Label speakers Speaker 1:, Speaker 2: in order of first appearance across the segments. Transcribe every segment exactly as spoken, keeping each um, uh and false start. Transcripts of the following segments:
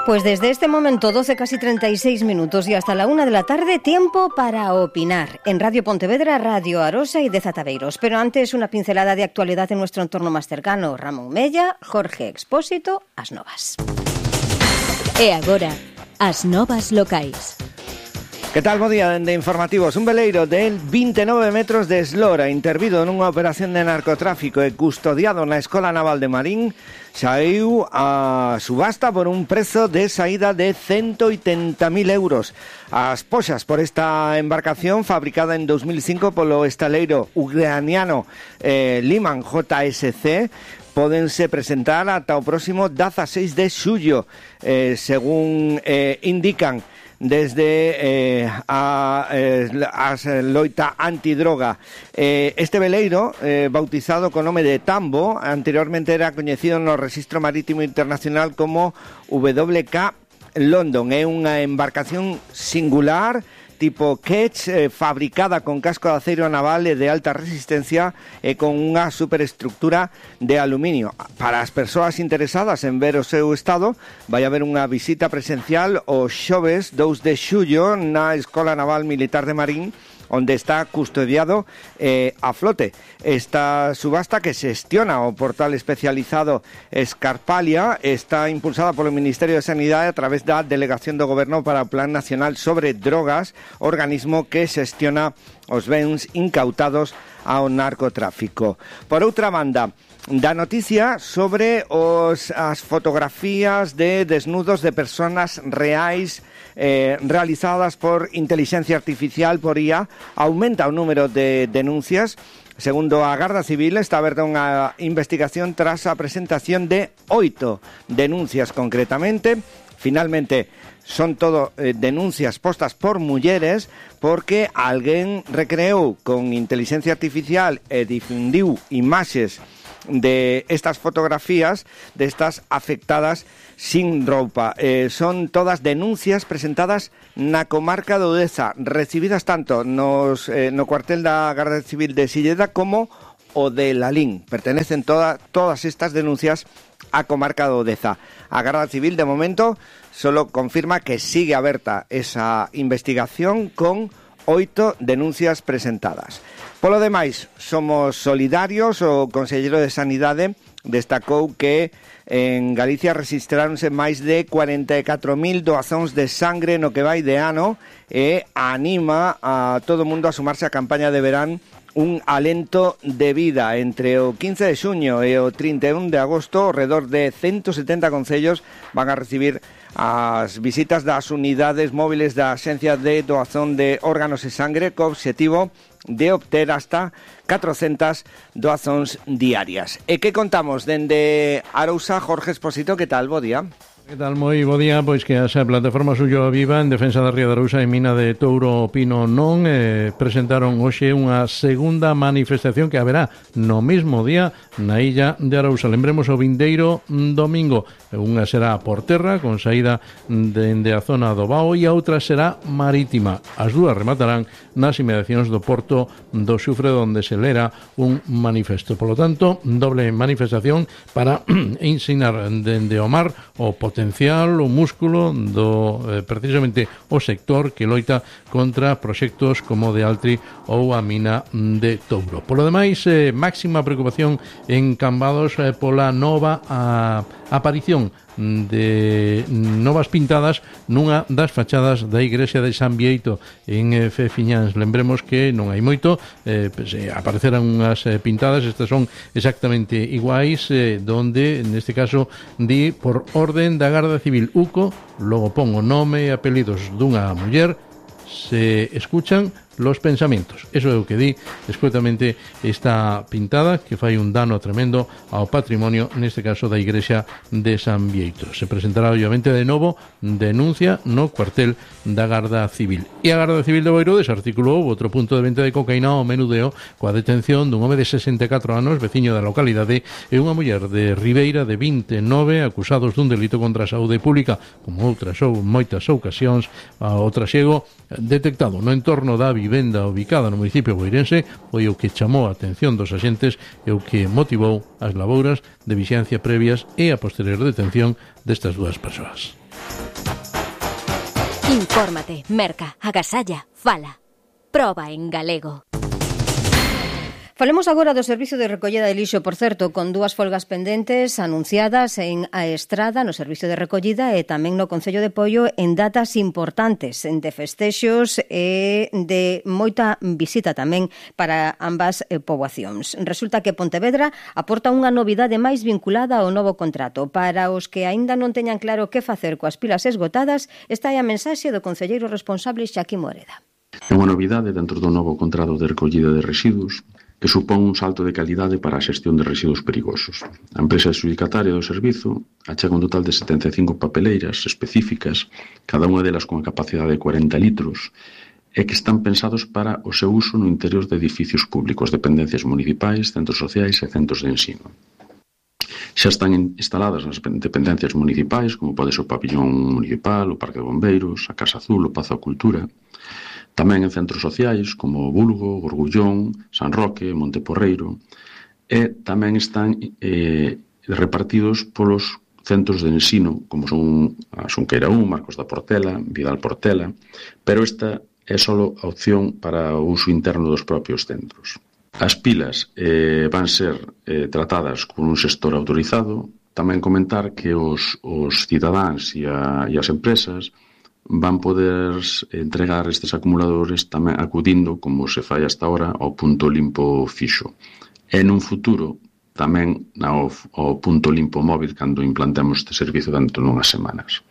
Speaker 1: Pues desde este momento, doce casi treinta y seis minutos y hasta la una de la tarde, tiempo para opinar en Radio Pontevedra, Radio Arosa y Deza Tabeiros. Pero antes, una pincelada de actualidad en nuestro entorno más cercano. Ramón Mella, Jorge Expósito, As Novas.
Speaker 2: E agora, as novas locais.
Speaker 3: Que tal, bo día de informativos. Un veleiro de veintinueve metros de eslora intervido nunha operación de narcotráfico e custodiado na Escola Naval de Marín saiu a subasta por un prezo de saída de ciento oitenta mil euros. As poxas por esta embarcación, fabricada en dos mil cinco polo estaleiro ucraniano eh, Liman J S C, pódense presentar ata o próximo dieciséis de xullo, eh, según eh, indican desde eh, a eh, as loita antidroga. Eh, este veleiro, eh, bautizado con nome de Tambo, anteriormente era coñecido no Rexistro Marítimo Internacional como W K London. É unha embarcación singular, tipo Ketch, eh, fabricada con casco de aceiro naval e de alta resistencia e con unha superestructura de aluminio. Para as persoas interesadas en ver o seu estado, vai haber unha visita presencial o xoves dous de xullo na Escola Naval Militar de Marín, onde está custodiado eh, a flote. Esta subasta, que xestiona o portal especializado Escarpalia, está impulsada polo Ministerio de Sanidade a través da Delegación do Goberno para o Plan Nacional sobre Drogas, organismo que xestiona os bens incautados ao narcotráfico. Por outra banda, da noticia sobre os, as fotografías de desnudos de personas reais eh, realizadas por inteligencia artificial, por I A. Aumenta o número de denuncias. Segundo a Garda Civil, está aberta unha investigación tras a presentación de oito denuncias concretamente. Finalmente, son todo eh, denuncias postas por mulleres porque alguén recreou con inteligencia artificial e difundiu imaxes de estas fotografías de estas afectadas sin roupa. Eh, son todas denuncias presentadas na comarca de Odeza, recibidas tanto nos, eh, no cuartel da Garda Civil de Silleda como o de Lalín. Pertenecen toda, todas estas denuncias a comarca de Odeza. A Garda Civil, de momento, solo confirma que sigue aberta esa investigación con oito denuncias presentadas. Polo demais, somos solidarios. O conselleiro de Sanidade destacou que en Galicia rexistráronse máis de cuarenta e catro mil doazóns de sangre no que vai de ano e anima a todo o mundo a sumarse á campaña de verán Un alento de vida. Entre o quince de xuño e o trinta e un de agosto, ao redor de ciento setenta concellos van a recibir as visitas das unidades móviles da Axencia de Doazón de Órganos e Sangre, co obxectivo de obter hasta catrocentas doazóns diarias. E que contamos dende Arousa? Jorge Expósito, que tal? Bo día.
Speaker 4: Que tal? Moi bo día. Pois que a plataforma Suyo Viva en defensa da Ría de Arousa e Mina de Touro Pino non eh, presentaron hoxe unha segunda manifestación que haberá no mesmo día na illa de Arousa. Lembremos o vindeiro domingo. Unha será por terra con saída dende a zona do Bao e a outra será marítima. As dúas rematarán nas inmediacións do porto do Xufre, onde se lera un manifesto. Por lo tanto, doble manifestación para ensinar dende o mar o potencial, o músculo do eh, precisamente o sector que loita contra proxectos como de Altri ou a mina de Touro. Por lo demais, eh, máxima preocupación en Cambados eh, pola nova a, aparición de novas pintadas nunha das fachadas da igrexa de San Bieito en eh, Fefiñáns. Lembremos que non hai moito, eh, pues, eh, apareceran unhas eh, pintadas, estas son exactamente iguais, eh, donde neste caso di por orden da Garda Civil Uco, logo pon o nome e apelidos dunha muller, se escuchan los pensamientos. Eso é o que di escuetamente esta pintada, que fai un dano tremendo ao patrimonio, neste caso da igrexa de San Bieito. Se presentará obviamente de novo denuncia no cuartel da Garda Civil. E a Garda Civil de Boiro desarticulou outro punto de venta de cocaína ao menudeo coa detención dun home de sesenta e catro anos, veciño da localidade, e unha muller de Ribeira de vinte e nove, acusados dun delito contra a saúde pública, como outras ou moitas ocasións, o trasiego detectado no entorno da vivenda ubicada no municipio boirense foi o que chamou a atención dos axentes e o que motivou as labouras de vixiancia previas e a posterior detención destas dúas persoas.
Speaker 2: Infórmate, merca, agasalla, fala. Proba en galego.
Speaker 1: Falemos agora do servizo de recollida de lixo, por certo, con dúas folgas pendentes anunciadas en A Estrada, no servizo de recollida, e tamén no Concello de Poio en datas importantes, de festexos e de moita visita tamén para ambas eh, poboacións. Resulta que Pontevedra aporta unha novidade máis vinculada ao novo contrato. Para os que aínda non teñan claro que facer coas pilas esgotadas, esta é a mensaxe do concelleiro responsable Xaquín Moreda.
Speaker 5: É unha novidade dentro do novo contrato de recollida de residuos que supón un salto de calidade para a xestión de residuos perigosos. A empresa adxudicataria do servizo achega un total de setenta e cinco papeleiras específicas, cada unha delas con a capacidade de cuarenta litros, e que están pensados para o seu uso no interior de edificios públicos, dependencias municipais, centros sociais e centros de ensino. Xa están instaladas nas dependencias municipais, como pode ser o pabillón municipal, o Parque de Bombeiros, a Casa Azul, o Pazo da Cultura. Tamén en centros sociais como Bulgo, Gorgullón, San Roque, Monteporreiro, e tamén están eh, repartidos polos centros de ensino, como son a Xunqueira un, Marcos da Portela, Vidal Portela, pero esta é só a opción para o uso interno dos propios centros. As pilas eh, van ser eh, tratadas con un xestor autorizado. Tamén comentar que os, os cidadáns e, a, e as empresas van poder entregar estes acumuladores tamén acudindo, como se fai hasta ahora, ao punto limpo fixo. E nun futuro tamén ao, ao punto limpo móvil cando implantemos este servizo dentro de unhas semanas.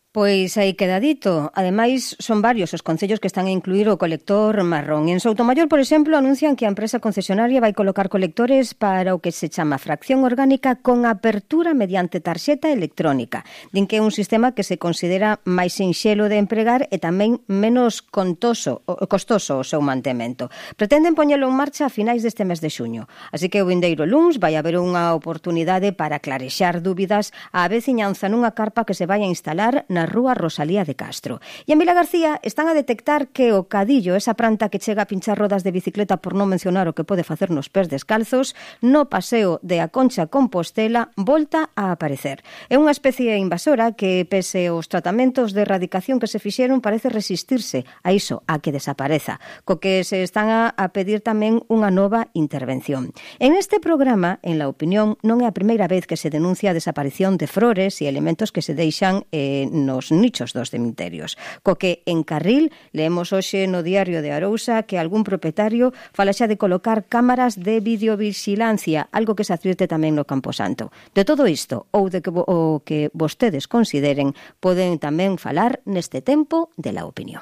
Speaker 1: Pois aí queda dito. Ademais, son varios os concellos que están a incluir o colector marrón. En Soutomaior, por exemplo, anuncian que a empresa concesionaria vai colocar colectores para o que se chama fracción orgánica con apertura mediante tarxeta electrónica. Din que é un sistema que se considera máis sinxelo de empregar e tamén menos contoso, costoso o seu mantemento. Pretenden poñelo en marcha a finais deste mes de xuño. Así que o vindeiro luns vai haber unha oportunidade para clarexar dúbidas á veciñanza nunha carpa que se vai a instalar na Rúa Rosalía de Castro. E en Vila García están a detectar que o cadillo, esa planta que chega a pinchar rodas de bicicleta por non mencionar o que pode facer nos pés descalzos, no paseo de A Concha Compostela volta a aparecer. É unha especie invasora que, pese aos tratamentos de erradicación que se fixeron, parece resistirse a iso, a que desapareza, co que se están a, a pedir tamén unha nova intervención. En este programa, en La Opinión, non é a primeira vez que se denuncia a desaparición de flores e elementos que se deixan eh, nos nichos dos cemiterios. Co que en Carril leemos hoxe no Diario de Arousa que algún propietario fala xa de colocar cámaras de videovigilancia, algo que se advirte tamén no Camposanto. De todo isto, ou de que, o que vostedes consideren, poden tamén falar neste tempo de La Opinión.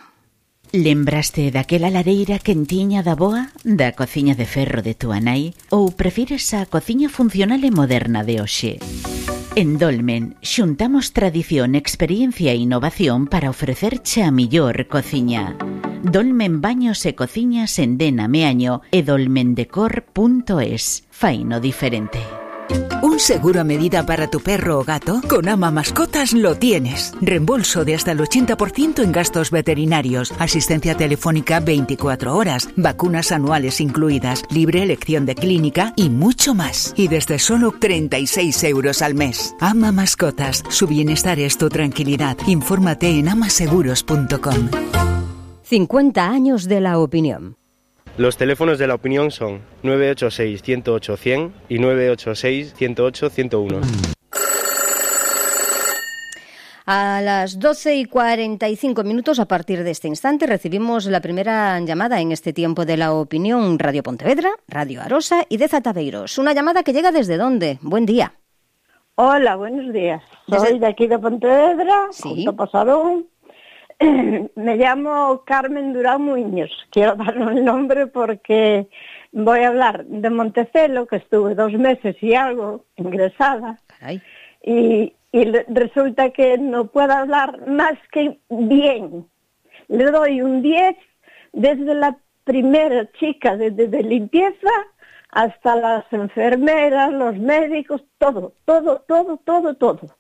Speaker 6: Lembraste daquela lareira quentiña da boa, da cociña de ferro de túa nai, ou prefires a cociña funcional e moderna de hoxe? En Dolmen, xuntamos tradición, experiencia e innovación para ofrecerche a millor cociña. Dolmen Baños e Cociñas en Dena Meaño e dolmendecor punto es. Faino diferente.
Speaker 7: ¿Un seguro a medida para tu perro o gato? Con Ama Mascotas lo tienes. Reembolso de hasta el ochenta por ciento en gastos veterinarios, asistencia telefónica veinticuatro horas, vacunas anuales incluidas, libre elección de clínica y mucho más. Y desde solo treinta y seis euros al mes. Ama Mascotas. Su bienestar es tu tranquilidad. Infórmate en amaseguros punto com.
Speaker 1: cincuenta años de La Opinión.
Speaker 8: Los teléfonos de La Opinión son nueve ocho seis, uno cero ocho, cien y nueve ocho seis, uno cero ocho, ciento uno.
Speaker 1: A las doce y cuarenta y cinco minutos, a partir de este instante, recibimos la primera llamada en este tiempo de La Opinión. Radio Pontevedra, Radio Arosa y de Zataveiros. Una llamada que llega ¿desde dónde? Buen día.
Speaker 9: Hola, buenos días.
Speaker 1: Desde...
Speaker 9: Soy de aquí de Pontevedra,
Speaker 1: sí.
Speaker 9: junto a Pasadón. Me llamo Carmen Durán Muñoz. Quiero dar el nombre porque voy a hablar de Montecelo, que estuve dos meses y algo ingresada.
Speaker 1: Caray.
Speaker 9: Y, y resulta que no puedo hablar más que bien. Le doy un diez desde la primera chica de, de, de limpieza hasta las enfermeras, los médicos, todo, todo, todo, todo, todo.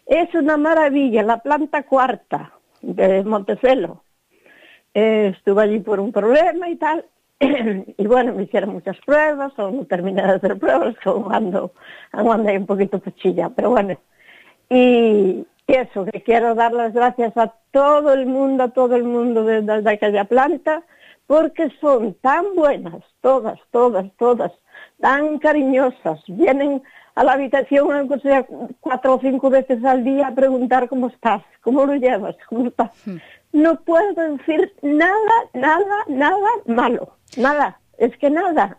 Speaker 9: Es una maravilla, la planta cuarta de Montecelo. eh, estuve allí por un problema y tal, y bueno, me hicieron muchas pruebas, aún no terminé de hacer pruebas, aún ando, aún ando ahí un poquito pochilla, pero bueno, y, y eso, que quiero dar las gracias a todo el mundo, a todo el mundo de, de, de aquella planta, porque son tan buenas, todas, todas, todas, tan cariñosas, vienen a la habitación, aunque sea cuatro o cinco veces al día, a preguntar cómo estás, cómo lo llevas, cómo estás. Hmm. No puedo decir nada, nada, nada malo, nada, es que nada.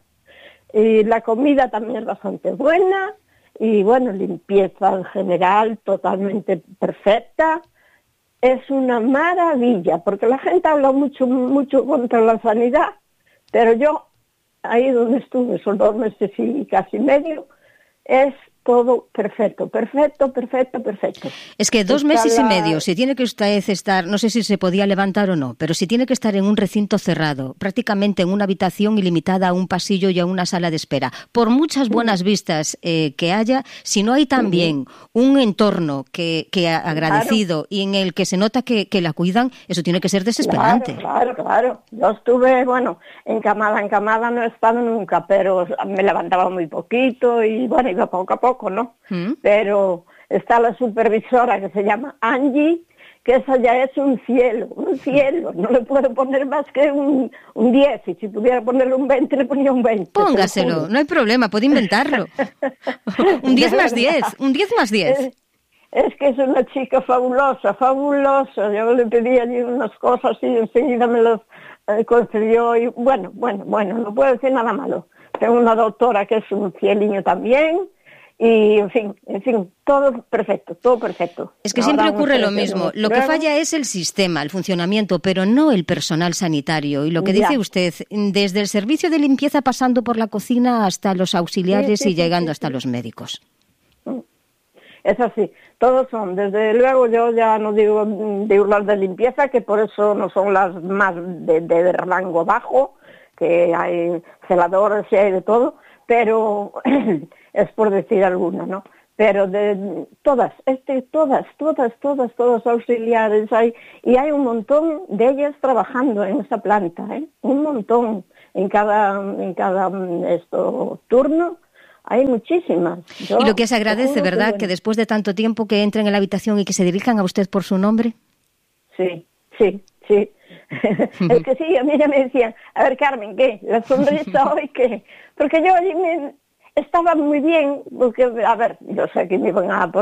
Speaker 9: Y la comida también es bastante buena, y bueno, limpieza en general totalmente perfecta. Es una maravilla, porque la gente habla mucho, mucho contra la sanidad, pero yo, ahí donde estuve, son dos meses y casi medio, es todo perfecto, perfecto, perfecto, perfecto.
Speaker 1: Es que dos
Speaker 9: Está
Speaker 1: meses
Speaker 9: la...
Speaker 1: y medio, si tiene que usted estar, no sé si se podía levantar o no, pero si tiene que estar en un recinto cerrado, prácticamente en una habitación ilimitada a un pasillo y a una sala de espera, por muchas buenas vistas eh, que haya, si no hay también un entorno que, que ha agradecido, claro, y en el que se nota que, que la cuidan, eso tiene que ser desesperante.
Speaker 9: Claro, claro, claro. Yo estuve, bueno, encamada, encamada no he estado nunca, pero me levantaba muy poquito y bueno, iba poco a poco, ¿no? ¿Mm? Pero está la supervisora que se llama Angie, que esa ya es un cielo, un cielo. No le puedo poner más que un, un diez, y si pudiera ponerle un veinte, le ponía un veinte.
Speaker 1: Póngaselo, no hay problema, puede inventarlo. Un diez más diez, un diez más diez.
Speaker 9: Es, es que es una chica fabulosa, fabulosa. Yo le pedí allí unas cosas y enseguida me las eh, concedió. Y bueno, bueno, bueno, no puedo decir nada malo. Tengo una doctora que es un cieliño también. Y, en fin, en fin, todo perfecto, todo perfecto.
Speaker 1: Es que Ahora siempre ocurre lo mismo. Lo que falla es el sistema, el funcionamiento, pero no el personal sanitario. Y lo que ya. dice usted, desde el servicio de limpieza pasando por la cocina hasta los auxiliares sí, sí, y llegando sí, sí, hasta sí. los médicos.
Speaker 9: Es así, todos son. Desde luego yo ya no digo digo las de limpieza, que por eso no son las más de, de rango bajo, que hay celadores y hay de todo, pero... es por decir alguna, ¿no? Pero de todas, este, todas, todas, todas, todos auxiliares hay, y hay un montón de ellas trabajando en esa planta, ¿eh? Un montón en cada, en cada esto, turno. Hay muchísimas. Yo,
Speaker 1: y lo que se agradece, ¿verdad? Que, bueno. que después de tanto tiempo que entren en la habitación y que se dirijan a usted por su nombre.
Speaker 9: Sí, sí, sí. Es que sí, a mí ya me decían, a ver, Carmen, ¿qué? La sonrisa hoy, ¿qué? Porque yo allí me... estaba muy bien, porque, a ver, yo sé que me iban a poner